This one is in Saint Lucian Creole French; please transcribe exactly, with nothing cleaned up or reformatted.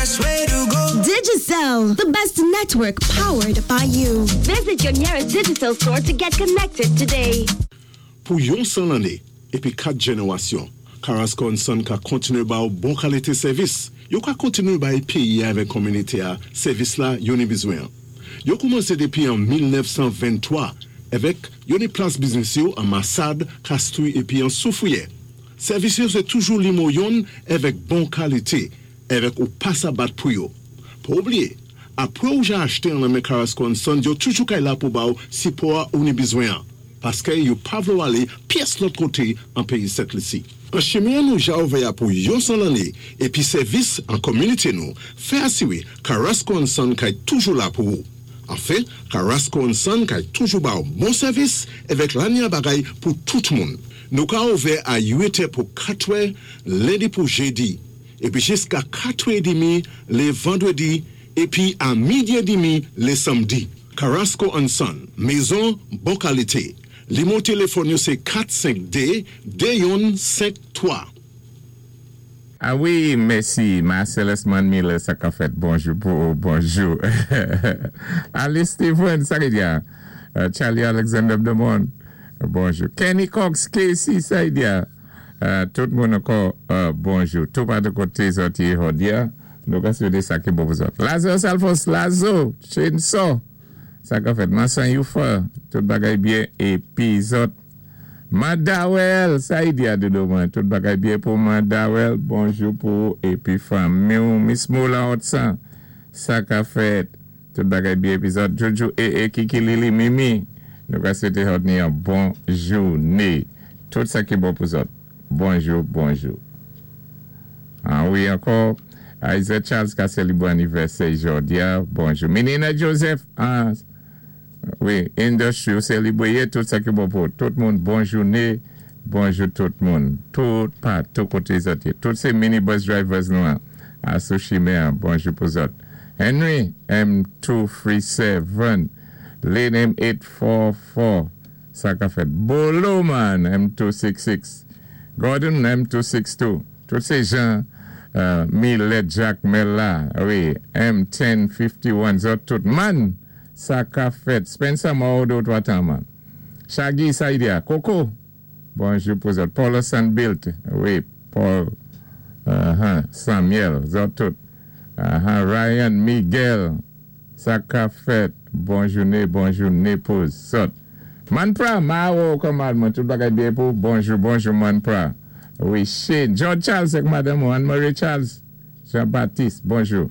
best way to go. Digicel, the best network powered by you. Visit your nearest Digicel store to get connected today. Pou yon san lanné, épi kat jénéwasyon, Carasco and Son ka kontiné ba ou bon kalité sèvis. Yo ka kontiné bay péyi avèk kominité-a sèvis la yo ni bizwen. Yo koumansé dépi an mil nèf san venntwa avèk yo ni plas biznis yo an Massade, Castries épi an Soufrière. Sèvis yo sé toujou nimewo youn avèk bon kalité, avèk ou pa sa bat pou yo. Pa oubliyé, apwé ou ja achté an nan men Carasco and Son, yo toujou kay la pou ba ou sipò ou ni bizwen. Paské yo pa vlé ou alé pyès lòt koté an péyi Sent Lisi. An chimen nou ja ouvè pou yon san lanné épi sèvis an kominité nou, fè asiwé Carasco and Son kay toujou la pou ou. Anfen, Carasco and Son kay toujou ba ou bon sèvis avèk lanya bagay pou tout moun. Nou ka ouvè a uit è pou katwè, lendi pou jédi, épi jiska katwè édmi lé vandwédi, épi a midi édmi lé sanmdi. Carasco and Son, mézon bon kalité. Nimewo téléfòn yo sé kat senk dé de youn senk twa. Ah wi, mèsi. Marcellus Man Miller, sa ka fèt. Bonjou, pou, bonjou. Alice Stephen, sa ki diya. Uh, Charlie Alexander Demond, bonjou. Kenny Cox, Casey, sa ki diya. Uh, tout moun ankò, uh, bonjou. Tout pa de koté zòt yé jòdi-a. Nou ka swété sa ki bon pou zòt. Lazarus Alphonse, Lazo, Chainsaw. Sa ka fèt. Mansan Youfa, tout bagay byen. Épi zòt. Mandawel, sa yi di a dodo mwen. Tout bagay byen pou Mandawel. Bonjou pou épi fanmi ou. Miss Moula Otsan, sa ka fèt. Tout bagay byen épi zòt. Jojo e e Kiki Lili Mimi. Nou ka swété zòt ni yon bon jouné. Tout sa ki bon pou zòt. Bonjou, bonjou. Ah wi, ankò. Isaac Charles ka sélébwé anivèsè jòdi-a. Bonjou. Menina Joseph, ah, wi, industry ou sélébwé tout sa ki bon pou tout moun. Bon jouné. Bonjou tout moun. Tout patou koté zòt. Tout sé minibus drivers nou an. A sou chimen, bonjou pou zòt. Henry M two three seven, Lane M eight four four, sa ka fèt. Bolo man M two six six, Gordon M two six two. Tout sé jan euh, Millet Jack Mella, wi, M ten fifty-one, zòt tout. Man, sa ka fèt. Spencer Maodo, twa tan man. Shaggy Saidia, Coco, bonjou pou zòt. Paul Sanbilt, wi, Paul uh-huh, Samuel, zòt tout. Uh-huh, Ryan Miguel, sa ka fèt. Bon jouné, bon jouné pou zòt. Manpra, Mao, kòman, tout bagay byen pou. Bonjou, bonjou, Manpra. Wi, Shane, George Charles ak madanm Anne-Marie Charles, Jean-Baptiste, bonjou.